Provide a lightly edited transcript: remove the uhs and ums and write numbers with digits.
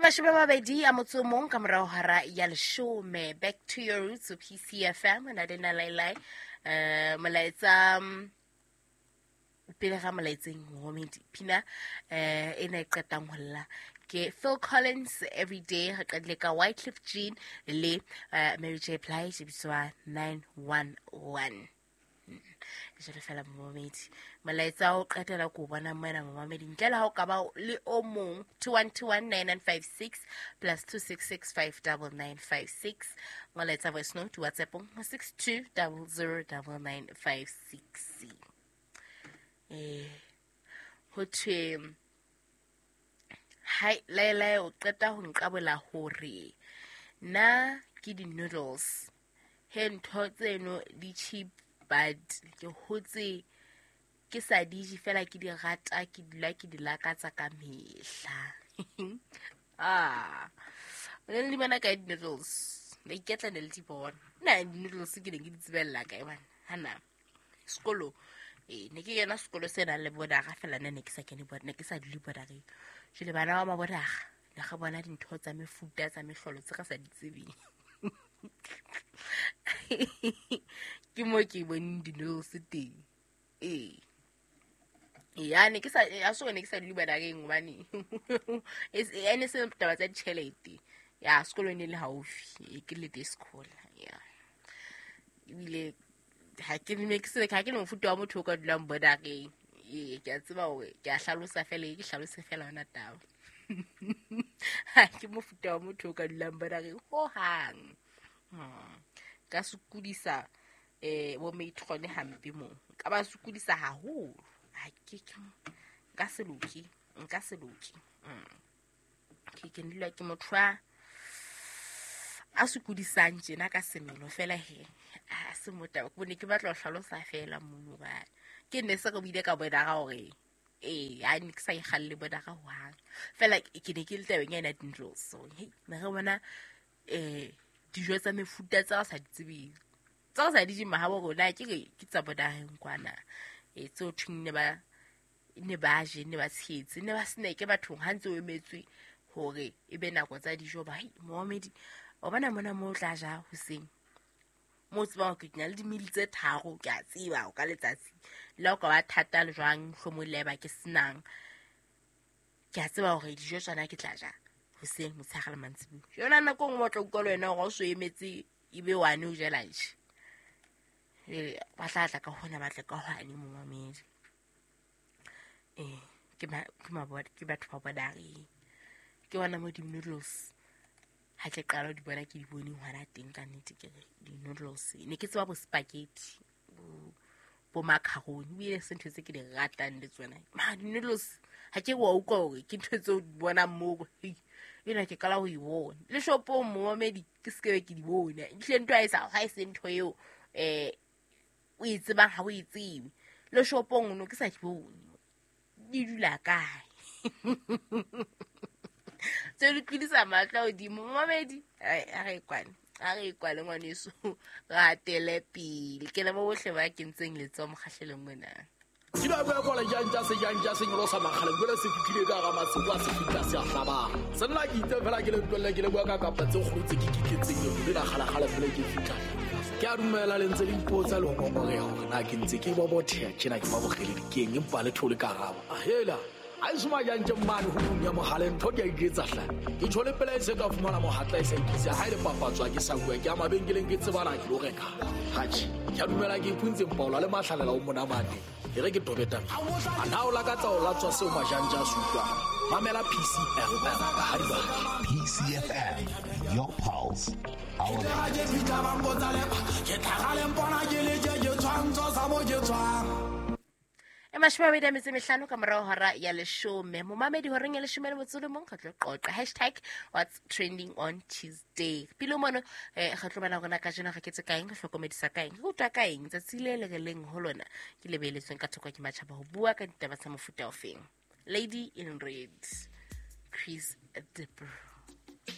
20 a motso o mong ka morao hora ya 10. Back to your roots, PCFM, na le na lailai. Molaetsa pele ga molaetseng, momedi, pina e ne e qetang ho lla ke Phil Collins, "Everyday". Re qadile ka Wyclef Jean le Mary J Blige, e bitswa 911. Jalo fela, momamedi, molaetsa o qetela ko bona mona, momamedi, ntle le ha o ka ba le o mong, 21219956 +266 59956. Molaetsa voice note WhatsAppong 62009956. Ho thwe hai laelae, o qeta ho nqabola hore nna ke di-noodles. He, ntho tseno di cheap, but ke hotse ke sa di je, fela ke di rata, ke dula ke di lakatsa ka mehla. Ah, ne le di bona kae di-noodles? La iketla ne le di bona. Nna di-noodles ke ne ke di tsebella kae bana? Hana sekolo, ee, ne ke kena sekolo se nang le bodaga, fela nna ne ke sa kene ne ke sa dule bodageng. Jwale bana ba mabodaga ne re bona dintho tsa mefuta tsa mehlolo tse re sa di tsebeng. Ke mo ke boneng di-noodles teng. Ee, ya ne ke sa a so ne ke sa dule bodageng hobane ene se taba tsa ditjhelete. Ya sekolo ne le haufi, ke le day school ya. Ebile ha ke ne ke se ha ke le mofuta wa motho o ka dulang bodageng. Ee, ke a tseba hore ke a hlalosa fela, ke hlalose fela yona taba. Ha ke mofuta wa motho o ka dulang bodageng hohang. Ka sokodisa bo matron hampe moo, ka ba sokodisa haholo. Ha ke nka se loke, nka se loke. Ke dula ke motho a sokodisang tjena ka semelo fela. He, a se motaba ke bone, ke batla ho hlalosa fela mono ba ke ne se re buile ka bodaga hore ee, ha ne ke sa ikgalle bodaga hohang, fela ke ne ke le tabeng ena di-noodles. So hey, ne re bona dijo tsa mefuta tse re sa di tsebeng, tse re sa di jeng mahabo rona, ke re ke tsa bodageng kwana. E tseo thweng ne ba je, ne ba tshetse, ne ba snacke bathong ha ntse o emetswe hore e be nako tsa dijo. Ba hei, momamedi, o bona mona mo o tla ja hoseng mo o tsebang hore ke na le dimili tse tharo, ke a tseba o ka letsatsi le ha o ka ba thata le jwang, mohlomong le eba ke senang, ke a tseba hore dijo tsona ke tla ja hoseng, motshehare le mantsibuya. Yona nako e nngwe o tla utlwa le wena hore o so emetse e be wane o je lunch. Jwale ba tla tla ka hona, ba tle ka hwane, momamedi. Ee, ke batho ba bodareng, ke bona mo di-noodles ha ke qala ho di bona, ke di bone hona teng. Ka nnete ke re di-noodles ne ke tseba bo spaghetti, bo macaroni, ebile se ntho tse ke di ratang le tsona. Ma di-noodles ha ke wa utlwa hore ke ntho tseo di bonang moo. Hei, ena ke qala ho e bona le shopong, momamedi, ke se ke be ke di bona. Ehlile ntho ha e se ntho eo o e tsebang, ha o e tsebe. Le shopong no ke sa di bone, di dula kae? Tse di tlodisa matlo a godimo, momamedi. Ai, a re kwane, a re kwane, ngwaneso, re atele pele. Ke le mo bohle ba kentseng letsoho mokgahlelong mona. Ke la bua kwala jang se jang ja se nyolosa makgale jwale se fitlhile ka hara masimo a se fihla se a hlabang se nna ke itse fela ke le tlohelle ke le bua ka kapa tse kgolo tse ke kitletseng le la kgalakgale fela ke fitlha. Ke a dumela le ntse le ipotsa le ho ngongoreha hore na ke ntse ke bobotheha tjena, ke ba bokgeledi keng, empa le thole karabo ahela a e soma jang tje mane ho tlung ya mohale. Ntho ke a iketsa hle, ke tjho le pela e se ka fumana mohatla e sa ikisa ha e le papatswa ke sa bua ke ya mabenkeleng ke tsebana ke lo reka hatjhe. Ke a dumela ke ipuntse mpaola le mahlalela o monamane e re ke tobeta a na o lakatsa o latswa seo majanja a se utlwang. Mamela PCFM ka ha dibaki. PCFM, your pulse, our ke fitlha ba mpotsa lepa ke tlhagale mpona ke le je ke tshwantsho sa mo ke tswang. E 25 ka morago hora ya 10, momamedi, horeng ya 11 re tlo qoqa hashtag what's trending on Tuesday. Pele mono re tlo bana rona kajeno re ketse kaeng, re hlokomedisa kaeng, re utlwa kaeng tsatsi le le re leng ho lona ke le beeletsweng ka thoko ke matjhaba ho bua ka ditaba tsa mofuta ofeng. Lady in Red, Chris de Burgh.